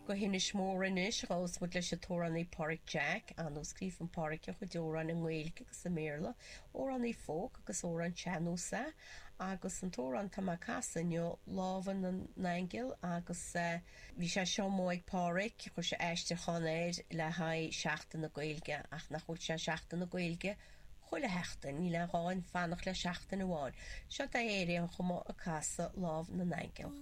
Go hInis Mór anois, gabhfas muid leis an t-amhránaí Páraic Jack. Ar ndóigh scríobhann Páraic a chuid amhrán i nGaeilge agus i mBéarla, amhránaí folk agus amhrán sean-nós é, agus an t-amhrán atá mé ag casadh inniu, Lámha na nAingeal, agus bhí sé seo amuigh ag Páraic, chuir sé aistriúchán air le haghaidh Seachtain na Gaeilge, ach nach bhfuil sé Seachtain na Gaeilge chuile sheachtain, níl aon ghá fanacht le seachtain amháin. Seo é ar aon chuma ag casadh Lámh na nAingeal.